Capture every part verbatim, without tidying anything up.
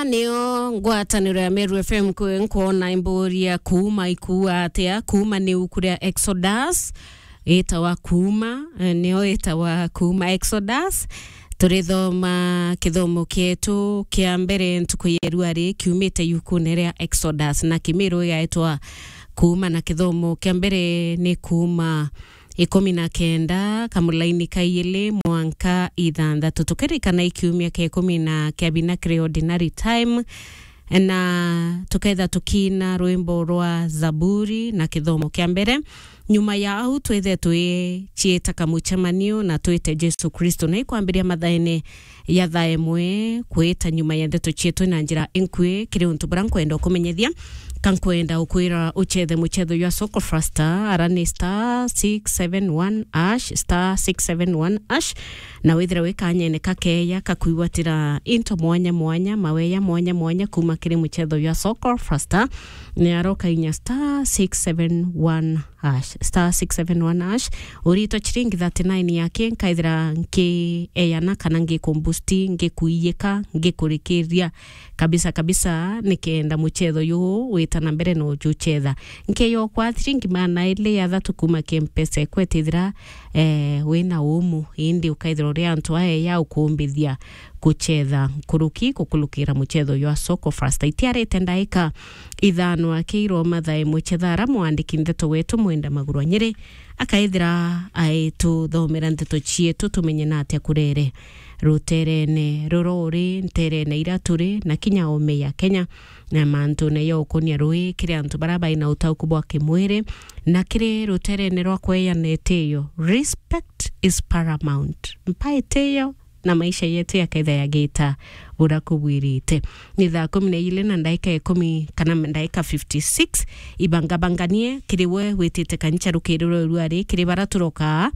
nio ngwataniro ya Meru F M kwi nkwona imburia kuuma ikuua atia? Kuuma ni uku ria Exodus, itawa kuuma, eh, nio itawa kuuma Exodus. Turithoma kithomo kietu kia mbere ntuku ya irua ri kiumite yukune ria Exodus, na Kimiru igaitwa kuuma, na kithomo kia mbere ni kuuma ikumi na kenda, kamulaini ka iili mwanka ithanthatu. Tukirikana i kiumia kia ikumi na kia bina kiri ordinary time, na tuketha tukiina rwimbo rwa Zaburi na kithomo kia mbere. Nyuma ya au, twithe twiciita kamucemanio na twite Jesu Kristo. Na ikwambiria mathaene ya thaa imwe kwita nyuma ya ndeto cietu na njira inkui kiri untu buria nkwenda ukumenyethia. Ka nkwenda ukwira ucethe mucetho jwa Soko Fasta, ara ni star six seven one hash, star six seven one hash, na withire wi kanyene kakeya kakwigwatira into mwanya mwanya, maweya mwanya mwanya kuma kiri mucetho jwa Soko Fasta. Ni aroka inya star six seven one hash, star six seven one hash. Uritwa chiringi thirty-nine yake, nkaithira nkieyana kana ngikumbusti, ngikuiyika, ngikurikiria kabisa kabisa, nikenda mucetho yu wita na mbere na ujucetha. Nkeyokwa thiringi maana iri ya thatu kuma ki Mpesa ekwe, tithira, eh, wina umu, indi ukaithira uri antu aya ya ukumbithia kucetha nkuruki kukulukira mucetho jwa Soko Fasta. Itiarite ndaika ithano akiirwo mathaa imwe cetha ara mwandiki ndeto wetu Mwenda Maguru wa Nyeri akaithira aituthomera ndeto cietu tumenye na atia kurere ruterene rura uri nterene ira turi na kinya ome ya Kenya, na mantune ya ukunia rui kiri antu bara baina utauku bwa kimwiri na kiri ruterene rwa kweyana itiyo. Respect is paramount. Mpa itiyo na maisha yetu yakaitha yagita uria kubwirite. Ni thaa kumi na ijiri na ndaika ikumi kana ndaika fifty-six. Ibangabanganie kiri we witite kanisa rukiri rwa irua ri, kiri bara turokaa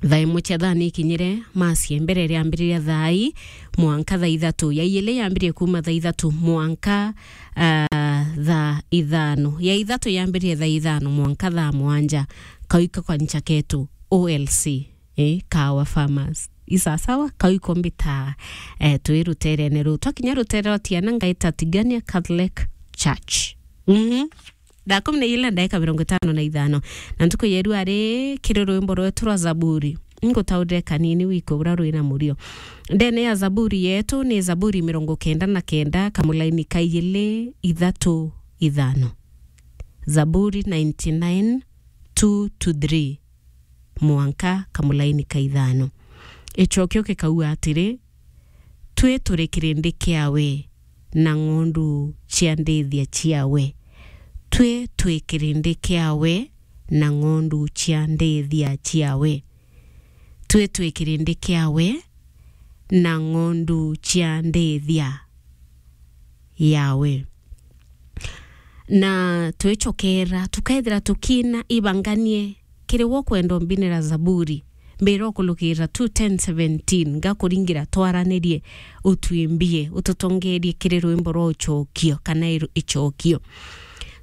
thaa imwe cia thaa ni ikinyire, masi ya mbere iriambiriria thaa i mwanka thaa ithatu, ya iili yambirie kuma thaa ithatu mwanka, ah, thaa ithano, ya ithatu yambirie thaa ithano mwanka thaa mwanja, kau iko kanisa ketu O L C. Eh, Kawa Farmers. Isasawa, kau iko mbita, eh, twi ruterene ruu. Twakinya rutere rwa Tiana, ngaita Tigania Catholic Church. Mhm. Thaa kumi na ijiri na ndaika mirongo itano na ithano. Na ntuku ya irua ri, kiri rwimbo rwetu rwa Zaburi. Ngutaurire kanini wiko uria rwina murio. Ndene ya Zaburi yetu ni Zaburi mirongo kenda na kenda, kamulaini ka ijiri, ithatu, ithano. Zaburi ninety-nine, two to three. Mwanka kamulaini ka ithano. Icokio gikauga atiri, "Twi turi kirindi kiawe na ng'ondu cia ndithia ciawe. Twi twi kirindi kiawe na ng'ondu cia ndithia ciawe. Twi twi kirindi kiawe na ng'ondu cia ndithia yawe." Na twicokera, tukaithira tukiina ibanganie kiri wo kwenda umbinira Zaburi. Mbira ukulukira two ten seventeen, ngakuringira twaranirie, utwimbie, ututongerie kiri rwimbo rwa ucokio, kana iru-, icokio.